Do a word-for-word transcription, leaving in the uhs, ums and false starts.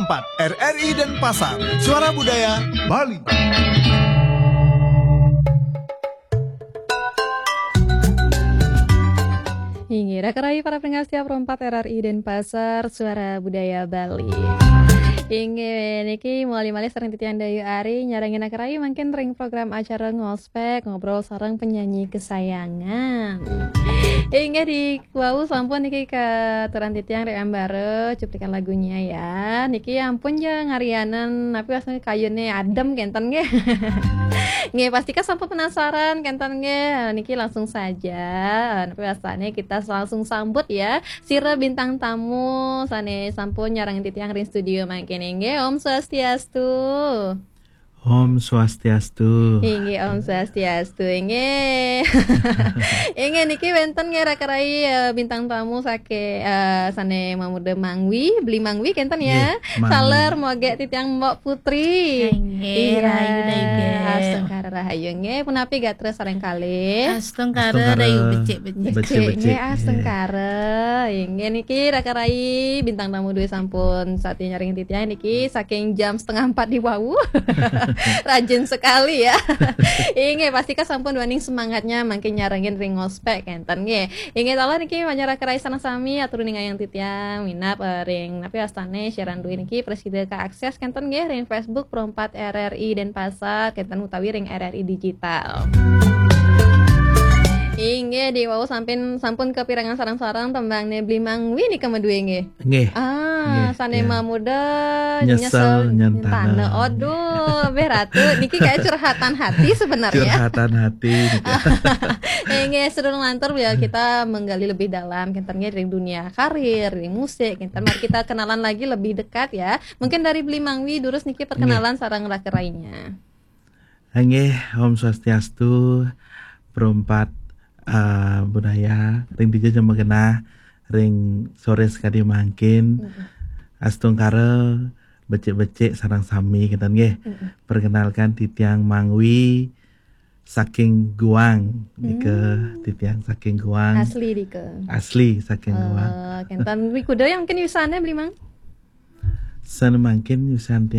empat R R I Denpasar, Suara Budaya Bali. Inggih, raka rayi para pendengar setia Pro empat R R I Denpasar, Suara Budaya Bali. Inggih, niki mawali malih sareng titiang Dayu Ari nyarengin raka rayi mangkin ring program acara Ngospek, ngobrol sareng penyanyi kesayangan. Inggih, di wau sampun niki katuran titiang ring ambara cuplikan lagunya ya. Niki ampun ja ngarianan, napi wastane kayune adem kenten nggih. Nggih, pastika sampun penasaran kenten nggih. Niki langsung saja. Napi wastane kita langsung sambut ya sira bintang tamu sane sampun nyarengin titiang ring studio mangkin nggih. Om Swastiastu. Om Swastiastu. Inggih, Om Swastiastu. Inggih. Inggih, niki wenten nggih raka rayi, eh, bintang tamu sake, eh, sane mamuda Mangwi, Beli Mangwi kenten ya. Nggih, Mangwi. Taler moge titiang Mbok Putri. Nggih, rahayu dah, nggih. Astungkara rahayu nggih. Punapi gatra sareng kalih? Astungkara Astungkara. Rahayu becik-becik. Becik-becik. Nggih, astungkara. Inggih niki raka rayi bintang tamu duwe sampun sati nyarengin titiang niki saking jam setengah empat di wau. Rajin sekali ya. Inggih, pastika sampun duaning semangatnya mangkin nyarengin ring Ngospek kenten nggih. Inggih taler niki manjak raka rayi sareng sami atur ningayang titiang minab, eh, ring napi wastane siaran duwe niki prasida kaakses kenten nggih ring Facebook Pro empat R R I Denpasar kenten utawi ring R R I Digital. Inggih, di wau sampun sampun kapirengang sareng-sareng tembangne Beli Mangwi nika madue nggih. Nggih. Ah, Nggih, sane ya. mamuda Nyesel nyesel nyentana. nyentana. Aduh, beh Ratu, niki kayak curhatan hati sebenarnya. Curhatan hati. Inggih, sedurung lantur ya kita menggali lebih dalam kenten nggih ring dunia karir, ring musik, kenten mari kita kenalan lagi lebih dekat ya. Mungkin dari Beli Mangwi durus niki perkenalan sareng raka rayinya. Nggih, Om Swastiastu, Pro empat, eh, Budaya, ring dija ja magenah, ring sore sakadi mangkin, astungkara, becik-becik sareng sami kenten nggih. Perkenalkan titiang Mangwi saking Guang, nika titiang saking Guang. Asli dika. Asli saking Guang. Eh, kenten wi kuda yang mungkin yusane Beli Mang. Sane mangkin yusan